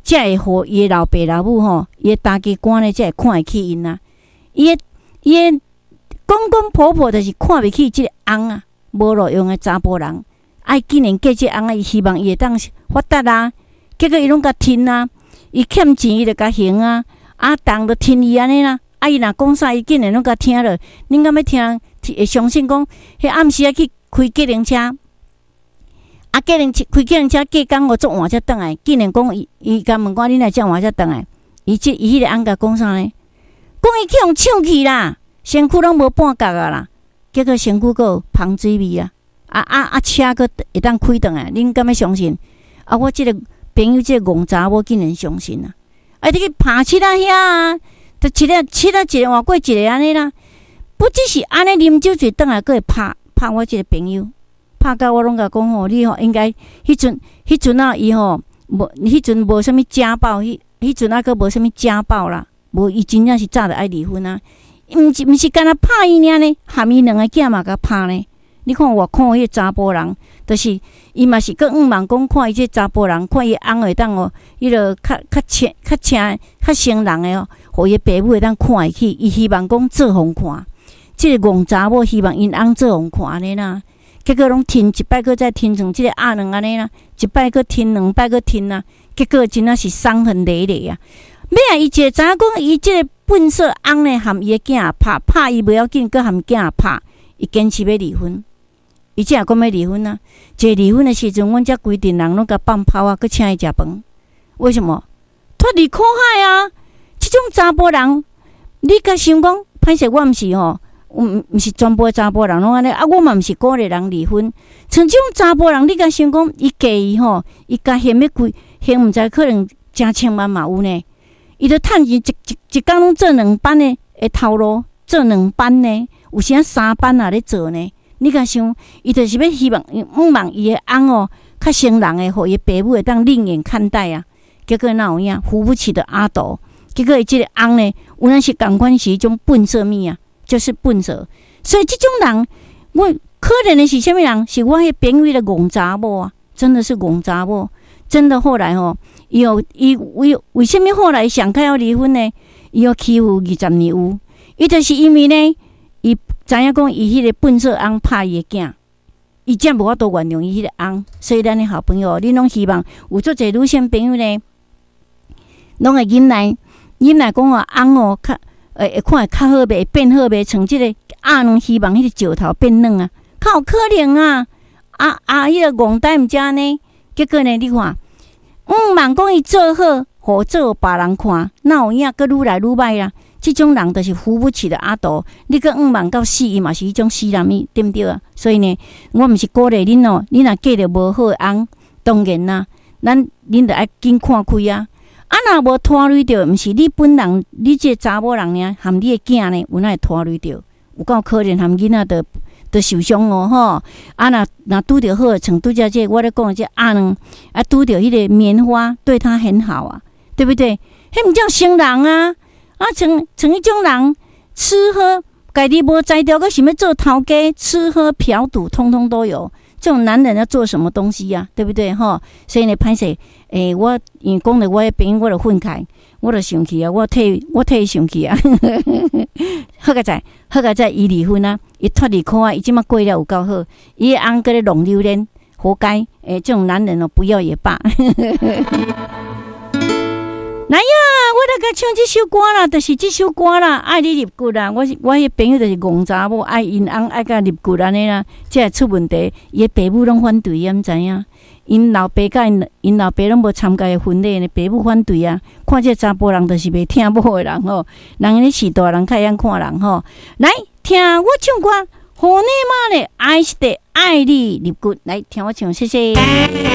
才會予伊的老爸老母吼，伊的大家官呢，才會看會起𪜶啊。伊的公公婆婆就是看袂起這个翁啊，無路用的查埔人，啊，竟然嫁這个翁啊，伊希望伊會當發達啊，結果伊攏共趁啊，伊欠錢伊就共還啊，啊，逐項都聽伊按呢啦，啊，伊若講啥，伊竟然攏共聽落，恁敢欲聽？會相信講，彼暗時仔去開計程車，啊，計程車開計程車過工予足晚才轉來，竟然講伊伊共問講，你哪會遮晚才轉來？伊彼个翁共講啥呢？講伊去予搶去啦，身軀攏無半角啊啦，結果身軀閣有芳水味啊！啊啊啊！車閣會當開轉來，恁敢欲相信？啊，我這个朋友這个戇查某竟然相信啊！啊，你去拍七仔遐啊，就七仔七仔一个換過一个按呢啦。不只是按呢啉酒醉轉來，閣會拍拍我這个朋友，拍甲我攏共講吼，你吼應該彼陣啊，伊吼無彼陣無啥物家暴，彼陣啊閣無啥物家暴啦，無伊真正是早就愛離婚啊。毋是干焦拍伊爾呢，含伊兩个囝嘛共拍呢。你看偌苦彼个查埔人，就是伊嘛是閣向望講看伊這查埔人，看伊翁會當哦，彼个較較清較清較成人的哦，予伊爸母會當看會起，伊希望講做予看。這个戇查某希望𪜶翁做予看按呢啦，結果攏趁一擺閣再趁像這个鴨卵按呢啦，一擺閣趁，兩擺閣趁啊，結果真正是傷痕累累啊。尾仔伊一個知影講，伊這个笨色翁呢，含伊的囝拍拍伊袂要緊，閣含囝拍，伊堅持欲離婚。伊才會講欲離婚啊！一離婚的時陣，阮遮規陣人攏共放炮啊，閣請伊食飯。為什麼？脫離苦海啊！這種查埔人，你共想講，歹勢我毋是吼，毋是全部的查埔人攏按呢啊！我嘛毋是鼓勵人離婚。像這種查埔人，你共想講，伊嫁伊吼，伊共還欲幾，還毋知可能成千萬嘛有呢。伊著趁錢一工攏做兩班的頭路，做兩班呢，有時三班也咧做呢。你共想，伊就是欲希望向望伊的翁哦，較成人的，予伊爸母會當另眼看待啊。結果哪有影，扶不起的阿斗。結果伊這個翁呢，有影是仝款是彼種笨色物啊，就是笨色。所以這種人，我可憐的是啥物人？是我彼朋友的戇查某啊，真的是戇查某。真的後來吼，伊哦，伊為啥物後來想開要離婚呢？伊予欺負20年有，伊就是因為呢，伊知影講伊彼个笨色翁拍伊的囝，伊才無法度原諒伊彼個翁。所以咱的好朋友，恁攏希望有足濟女性朋友呢，攏會忍耐，忍耐講話翁哦，較會看會較好袂，會變好袂？像這個鴨卵希望彼個石頭變軟啊，較有可能啊！啊啊，彼個戇呆毋才按呢，結果呢，你看，向望講伊做好，予做予別人看，哪有影閣愈來愈歹啊？這種人就是扶不起的阿斗，你閣向望到死，伊嘛是彼種死人物，對毋對啊？所以呢，我毋是鼓勵恁哦，恁若嫁著無好的翁，當然啦，咱恁著愛緊看開啊！啊，若無拖累著，毋是你本人，你這個查某人爾，含你的囝呢，有哪會拖累著？有夠可憐，含囡仔都受傷哦，吼！啊，若拄著好，像拄才這個我咧講的這鴨卵，啊，拄著彼個棉花，對他很好啊，對不對？彼毋叫成人啊！啊，像彼種人，吃喝家己無才調，閣想欲做頭家，吃喝嫖賭，通通都有。這種男人要做什麼東西呀？對不對？吼，所以呢，歹勢，我因為講著我的朋友，我就憤慨，我就生氣啊！我替伊生氣啊！好佳哉，好佳哉，伊離婚啊，伊脫離苦海，伊這馬過了有夠好，伊的翁閣咧弄榴蓮，活該！這種男人哦，不要也罷。來呀，我來共唱這首歌啦，就是這首歌啦，愛你入骨啦。我彼朋友就是戇查某，愛𪜶翁愛共入骨按呢啦，才會出問題。伊的爸母攏反對，伊毋知影。𪜶老爸佮𪜶老爸攏無參加婚禮呢，爸母反對啊。看這查埔人就是袂疼某的人吼，人咧序大人較會曉看人吼。來聽我唱歌，予你媽咧愛是得愛你入骨，來聽我唱，謝謝。